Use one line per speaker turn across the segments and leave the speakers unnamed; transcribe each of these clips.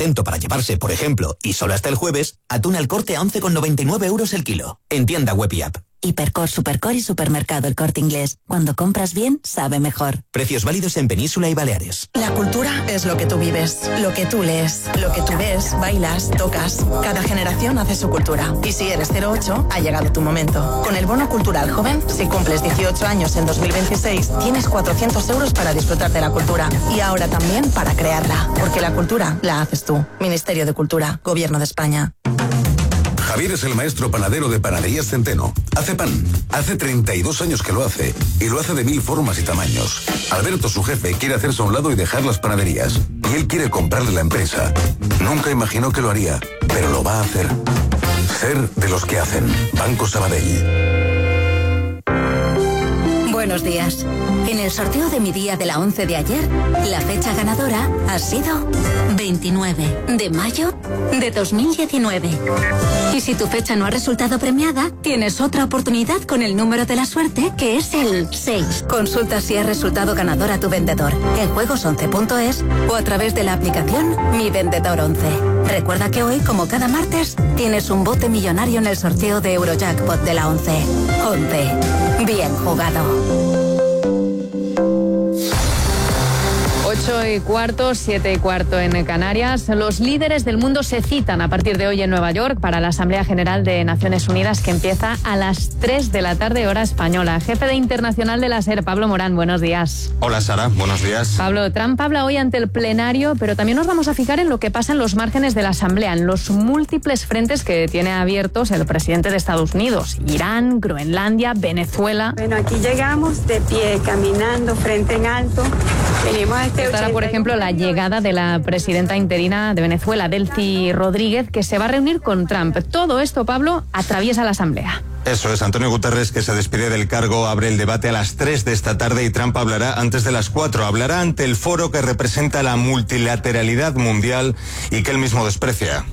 atento para llevarse, por ejemplo, y solo hasta el jueves, atún al Corte a 11,99 € el kilo. En tienda web y app.
Hipercor, Supercor y Supermercado El Corte Inglés. Cuando compras bien, sabe mejor.
Precios válidos en Península y Baleares.
La cultura es lo que tú vives, lo que tú lees, lo que tú ves, bailas, tocas. Cada generación hace su cultura. Y si eres 08, ha llegado tu momento. Con el Bono Cultural Joven, si cumples 18 años en 2026, tienes 400 € para disfrutar de la cultura. Y ahora también para crearla. Porque la cultura la haces tú. Ministerio de Cultura, Gobierno de España.
Javier es el maestro panadero de Panaderías Centeno. Hace pan. Hace 32 años que lo hace. Y lo hace de 1000 formas y tamaños. Alberto, su jefe, quiere hacerse a un lado y dejar las panaderías. Y él quiere comprarle la empresa. Nunca imaginó que lo haría, pero lo va a hacer. Ser de los que hacen. Banco Sabadell.
Buenos días. En el sorteo de mi día de la 11 de ayer, la fecha ganadora ha sido 29 de mayo de 2019. Y si tu fecha no ha resultado premiada, tienes otra oportunidad con el número de la suerte, que es el 6. Consulta si ha resultado ganador a tu vendedor en juegos11.es o a través de la aplicación Mi Vendedor 11. Recuerda que hoy, como cada martes, tienes un bote millonario en el sorteo de Eurojackpot de la 11. 11. Bien jugado.
8:15, 7:15 en Canarias. Los líderes del mundo se citan a partir de hoy en Nueva York para la Asamblea General de Naciones Unidas, que empieza a las 3 de la tarde, hora española. Jefe de Internacional de la SER, Pablo Morán, buenos días.
Hola, Sara, buenos días.
Pablo, Trump habla hoy ante el plenario, pero también nos vamos a fijar en lo que pasa en los márgenes de la Asamblea, en los múltiples frentes que tiene abiertos el presidente de Estados Unidos: Irán, Groenlandia, Venezuela.
Bueno, aquí llegamos de pie, caminando, frente en alto. Venimos a
Estará, por ejemplo, la llegada de la presidenta interina de Venezuela, Delcy Rodríguez, que se va a reunir con Trump. Todo esto, Pablo, atraviesa la Asamblea.
Eso es, Antonio Guterres, que se despide del cargo, abre el debate a las 3 de esta tarde y Trump hablará antes de las 4. Hablará ante el foro que representa la multilateralidad mundial y que él mismo desprecia.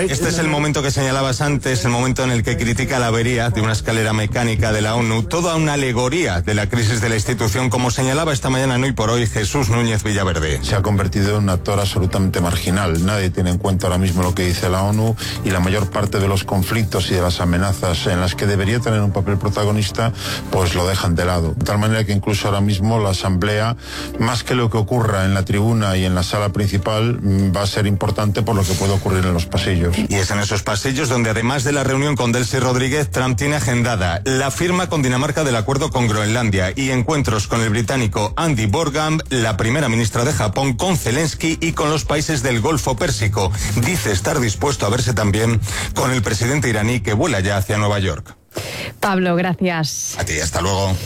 Este es el momento que señalabas antes, el momento en el que critica la avería de una escalera mecánica de la ONU, toda una alegoría de la crisis de la institución, como señalaba esta mañana en Hoy por Hoy Jesús Núñez Villaverde.
Se ha convertido en un actor absolutamente marginal. Nadie tiene en cuenta ahora mismo lo que dice la ONU y la mayor parte de los conflictos y de las amenazas en las que debería tener un papel protagonista, pues lo dejan de lado. De tal manera que incluso ahora mismo la Asamblea, más que lo que ocurra en la tribuna y en la sala principal, va a ser importante por lo que puede ocurrir en los pasillos.
Y es en esos pasillos donde, además de la reunión con Delcy Rodríguez, Trump tiene agendada la firma con Dinamarca del acuerdo con Groenlandia y encuentros con el británico Andy Borgham, la primera ministra de Japón, con Zelensky y con los países del Golfo Pérsico. Dice estar dispuesto a verse también con el presidente iraní, que vuela ya hacia Nueva York.
Pablo, gracias.
A ti, hasta luego.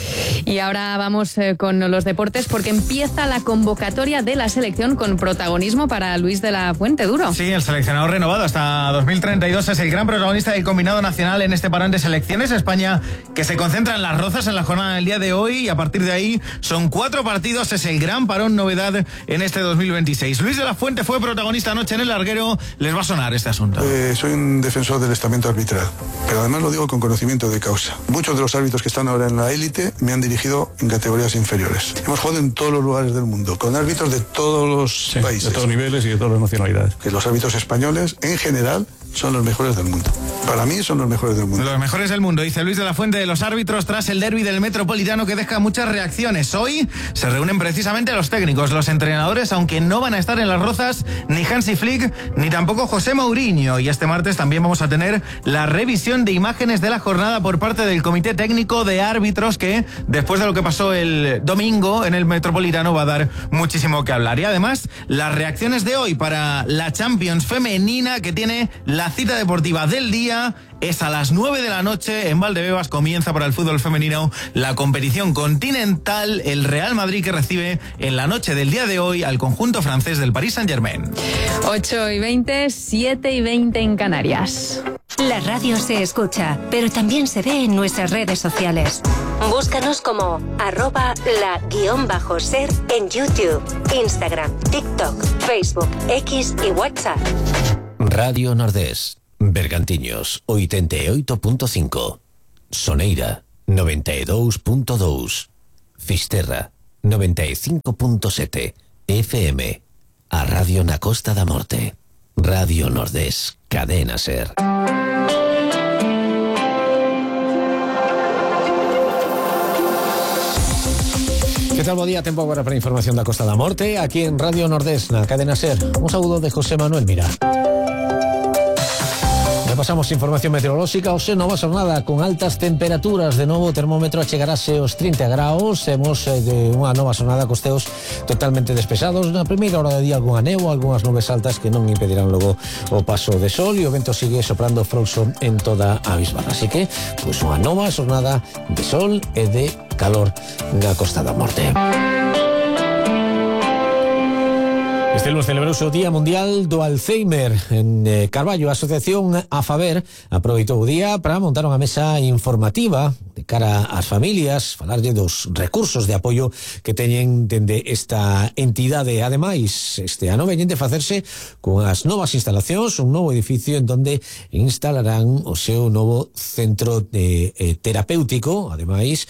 Y ahora vamos con los deportes, porque empieza la convocatoria de la selección con protagonismo para Luis de la Fuente Duro.
Sí, el seleccionador renovado hasta 2032 es el gran protagonista del combinado nacional en este parón de selecciones. España, que se concentra en Las Rozas en la jornada del día de hoy, y a partir de ahí son 4 partidos, es el gran parón novedad en este 2026. Luis de la Fuente fue protagonista anoche en el larguero, les va a sonar este asunto.
Soy un defensor del estamento arbitral, pero además lo digo con conocimiento de causa. Muchos de los árbitros que están ahora en la élite me han dirigido en categorías inferiores. Hemos jugado en todos los lugares del mundo, con árbitros de todos los países.
De todos niveles y de todas las nacionalidades.
Que los árbitros españoles, en general, son los mejores del mundo. Para mí son los mejores del mundo.
Los mejores del mundo, dice Luis de la Fuente de los árbitros tras el derbi del Metropolitano, que deja muchas reacciones. Hoy se reúnen precisamente los técnicos, los entrenadores, aunque no van a estar en Las Rozas ni Hansi Flick ni tampoco José Mourinho. Y este martes también vamos a tener la revisión de imágenes de la jornada por parte del Comité Técnico de Árbitros, que después de lo que pasó el domingo en el Metropolitano va a dar muchísimo que hablar. Y además, las reacciones de hoy para la Champions femenina, que tiene la cita deportiva del día. Es a las 9 de la noche en Valdebebas, comienza para el fútbol femenino la competición continental, el Real Madrid, que recibe en la noche del día de hoy al conjunto francés del Paris Saint-Germain.
8:20, 7:20 en Canarias.
La radio se escucha, pero también se ve en nuestras redes sociales. Búscanos como @la_ser en YouTube, Instagram, TikTok, Facebook, X y WhatsApp.
Radio Nordés, Bergantiños, 88.5, Soneira, 92.2, Fisterra, 95.7 FM. A Radio na Costa da Morte. Radio Nordés, Cadena Ser. Que tal, bo día, tempo agora para a información da Costa da Morte, aquí en Radio Nordés, na Cadena Ser. Un saúdo de José Manuel Mira. Pasamos información meteorolóxica. Hoxe nova xornada con altas temperaturas. De novo o termómetro achegarase aos 30 graus. Temos de unha nova xornada cos teos totalmente despesados. Na primeira hora de día algunha néboa, algunhas nubes altas que non impedirán logo o paso de sol, e o vento sigue soprando frouxo en toda a bisbarra. Así que, pois, unha nova xornada de sol e de calor na Costa da Morte. Este lunes celebrouse o Día Mundial do Alzheimer. En Carballo, a Asociación AFABER aproveitou o día para montar unha mesa informativa de cara ás familias, falarlle dos recursos de apoio que teñen dende esta entidade. Ademais, este ano veñen de facerse con as novas instalacións, un novo edificio en donde instalarán o seu novo centro terapéutico. Ademais,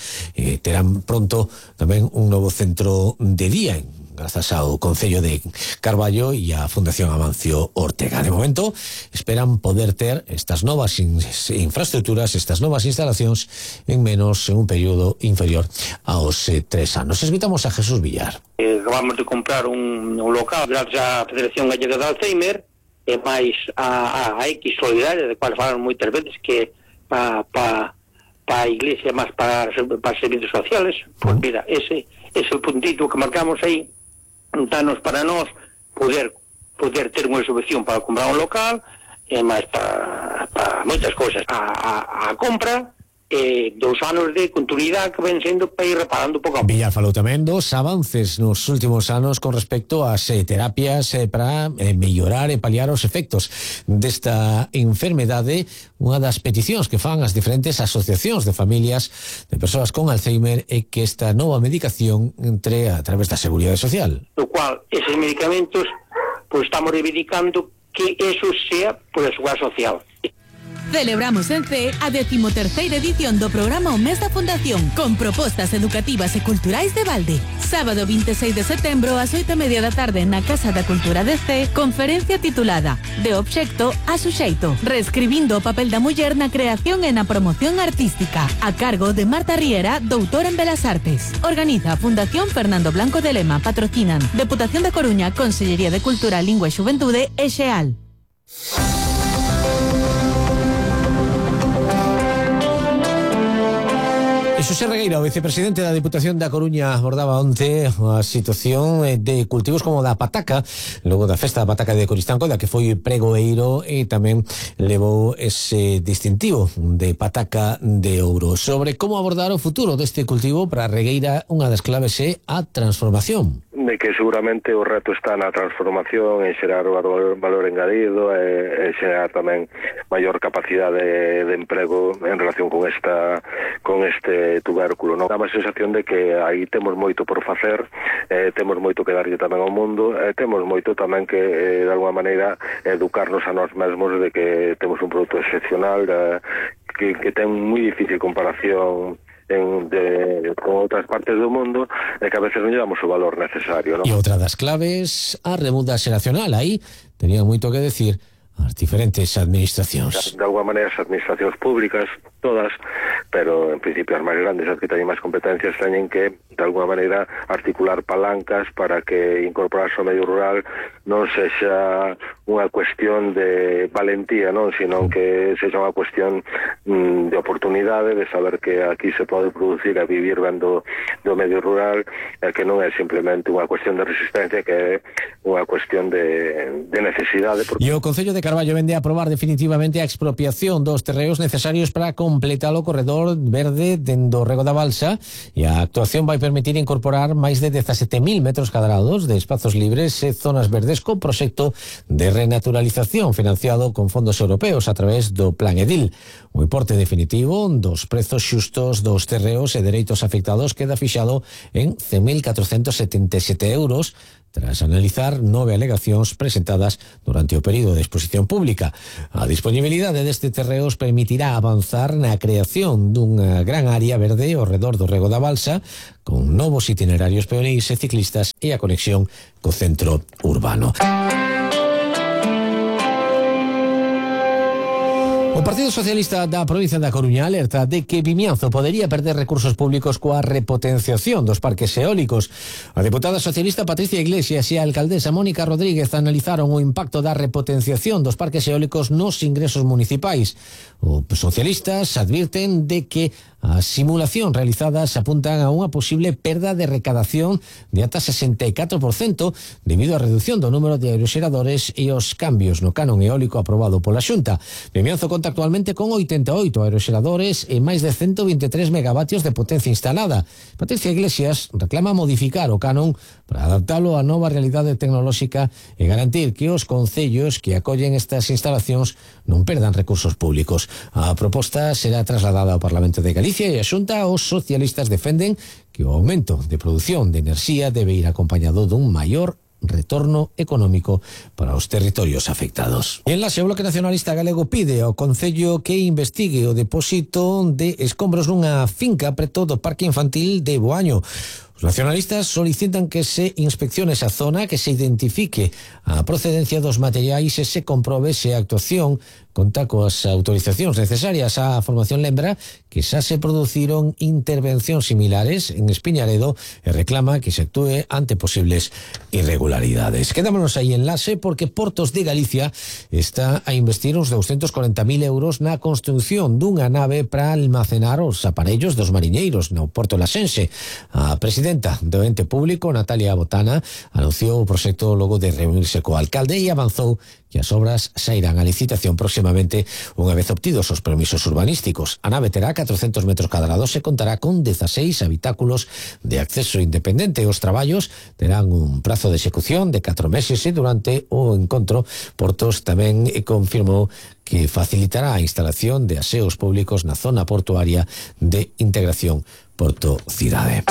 terán pronto tamén un novo centro de día grazas ao Concello de Carballo e a Fundación Amancio Ortega. De momento, esperan poder ter estas novas infraestructuras, estas novas instalacións en un período inferior aos 3 anos. Escoitamos a Jesús Villar.
Acabamos de comprar un local gracias á Federación Gallega de Alzheimer e máis a X Solidaria, de cual falan moitas veces que pa a Iglesia máis para servicios sociales. Pues mira, ese é o puntito que marcamos aí. Danos para nós poder ter unha subvención para comprar un local e máis para moitas cousas. A compra 2 anos de continuidade que ven sendo para ir reparando pouco a pouco.
Villar falou tamén dos avances nos últimos anos con respecto ás terapias para mellorar e paliar os efectos desta enfermedade. Unha das peticións que fan as diferentes asociacións de familias de persoas con Alzheimer é que esta nova medicación entre a través da Seguridade Social.
O cual, eses medicamentos, pues estamos reivindicando que eso sea por a Seguridade Social.
Celebramos en C a 13ª edición do programa O Mes da Fundación, con propostas educativas e culturais de balde. Sábado 26 de setembro ás 8:30 da tarde na Casa da Cultura de C, conferencia titulada De obxecto a suxeito, reescribindo o papel da muller na creación e na promoción artística, a cargo de Marta Riera, doutora en Belas Artes. Organiza a Fundación Fernando Blanco de Lema, patrocinan Deputación da Coruña, Consellería de Cultura, Lingua e Xuventude e Xeal.
Xosé Regueira, o vicepresidente da Deputación da Coruña, abordaba onte a situación de cultivos como da pataca, logo da festa da pataca de Coristanco, da que foi pregoeiro e tamén levou ese distintivo de pataca de ouro. Sobre como abordar o futuro deste cultivo, para Regueira unha das claves é a transformación.
De que seguramente o reto está na transformación, en xerar o valor engadido e xerar tamén maior capacidade de emprego en relación con este tubérculo, non? Dá a sensación de que aí temos moito por facer, temos moito que darlle tamén ao mundo, temos moito tamén que de alguma maneira educarnos a nós mesmos de que temos un produto excepcional que ten moi difícil comparación con outras partes do mundo e que a veces non lle damos o valor necesario, non?
E outra das claves, a remuda xeracional. Aí tenían moito que decir as diferentes administracións.
De alguma maneira as administracións públicas, todas, pero en principio as máis grandes, as que teñen máis competencias, teñen que de alguma maneira articular palancas para que incorporarse ao medio rural non sexa unha cuestión de valentía, non, sino que sexa unha cuestión de oportunidade, de saber que aquí se pode producir e vivir ben do medio rural, que non é simplemente unha cuestión de resistencia, que é unha cuestión de necesidade.
E o Concello de Carballo vende a aprobar definitivamente a expropiación dos terreos necesarios para completar o corredor verde dendo o Rego da Balsa, e a actuación vai permitir incorporar máis de 17.000 metros cadrados de espazos libres e zonas verdes con proxecto de renaturalización financiado con fondos europeos a través do Plan Edil. O importe definitivo dos prezos xustos dos terreos e dereitos afectados queda fixado en 100.477 euros, tras analizar 9 alegacións presentadas durante o período de exposición pública. A disponibilidade deste terreos permitirá avanzar na creación dunha gran área verde ao redor do rego da balsa, con novos itinerarios peonís e ciclistas e a conexión co centro urbano. O Partido Socialista da provincia da Coruña alerta de que Vimianzo podería perder recursos públicos coa repotenciación dos parques eólicos. A deputada socialista Patricia Iglesias e a alcaldesa Mónica Rodríguez analizaron o impacto da repotenciación dos parques eólicos nos ingresos municipais. Os socialistas advirten de que as simulacións realizadas apuntan a unha posible perda de recadación de ata 64% debido á reducción do número de aeroxeradores e os cambios no canon eólico aprobado pola Xunta. Vimianzo conta actualmente con 88 aeroxeradores e máis de 123 megavatios de potencia instalada. Patricia Iglesias reclama modificar o canon para adaptalo á nova realidade tecnolóxica e garantir que os concellos que acollen estas instalacións non perdan recursos públicos. A proposta será trasladada ao Parlamento de Galicia e a Xunta. Os socialistas defenden que o aumento de produción de enerxía debe ir acompañado dun maior retorno económico para os territorios afectados. En la o Bloque Nacionalista Galego pide ao Concello que investigue o depósito de escombros nunha finca preto do Parque Infantil de Boaño. Os nacionalistas solicitan que se inspeccione esa zona, que se identifique a procedencia dos materiais e se comprobe se a actuación conta coas autorizacións necesarias. A formación lembra que xa se produciron intervencións similares en Espiñaredo e reclama que se actúe ante posibles irregularidades. Quedámonos aí en Lase porque Portos de Galicia está a investir uns 240.000 euros na construción dunha nave para almacenar os aparellos dos mariñeiros no Porto Lasense. A presidenta do ente público, Natalia Botana, anunciou o proxecto logo de reunirse co alcalde e avanzou que as obras sairán a licitación próximamente unha vez obtidos os permisos urbanísticos. A nave terá 400 metros cadrados e contará con 16 habitáculos de acceso independente. Os traballos terán un prazo de execución de 4 meses e durante o encontro Portos tamén confirmou que facilitará a instalación de aseos públicos na zona portuaria de integración Porto-Cidade.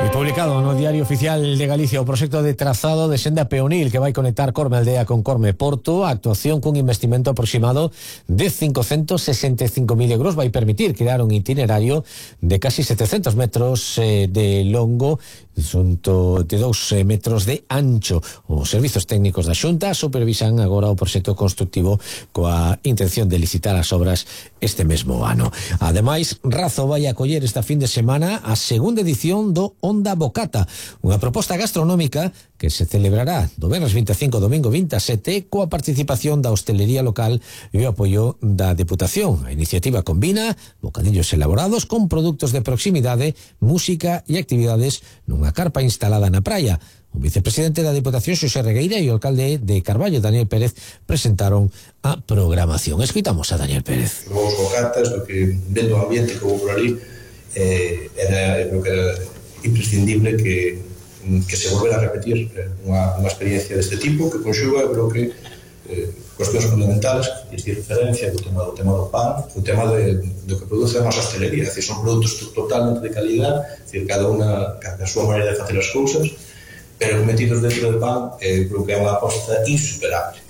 E publicado no Diario Oficial de Galicia o proxecto de trazado de senda peonil que vai conectar Corme Aldea con Corme Porto. A actuación cun investimento aproximado de 565.000 euros vai permitir crear un itinerario de casi 700 metros de longo, de 2 metros de ancho. Os servizos técnicos da Xunta supervisan agora o proxecto constructivo coa intención de licitar as obras este mesmo ano. Ademais, Razo vai acoller esta fin de semana a segunda edición do Onda Bocata, unha proposta gastronómica que se celebrará do venres 25 domingo 27 coa participación da hostelería local e o apoio da Deputación. A iniciativa combina bocadillos elaborados con produtos de proximidade, música e actividades nunha carpa instalada na praia. O vicepresidente da Deputación, Xosé Regueira, e o alcalde de Carballo, Daniel Pérez, presentaron a programación. Escoitamos a Daniel Pérez.
Os bocatas, o que vendo o ambiente que houve por ali, creo que era imprescindible que se volvera a repetir unha experiencia deste tipo que conxuga, creo que cuestións fundamentales que es referencia do tema do pan, o tema do que produce a nosa hostelería, é dicir, son produtos totalmente de calidad, é dicir, cada unha a súa maneira de facer as cousas, pero metidos dentro do pan, creo que é unha aposta insuperable.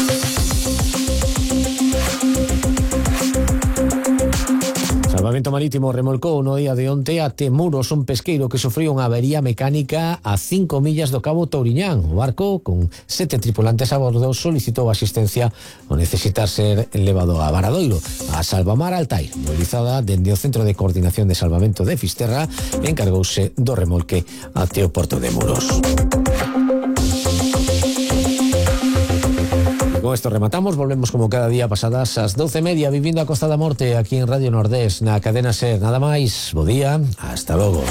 Salvamento Marítimo remolcou no día de onte até Muros un pesqueiro que sufriu unha avería mecánica a 5 millas do Cabo Touriñán. O barco, con 7 tripulantes a bordo, solicitou asistencia ao necesitar ser levado a Varadoiro. A Salvamar Altair, mobilizada dende o Centro de Coordinación de Salvamento de Fisterra, encargouse do remolque até o porto de Muros. Con esto rematamos, volvemos como cada día pasadas as 12:30 vivindo a Costa da Morte aquí en Radio Nordés, na cadena SER. Nada máis, bo día, hasta logo.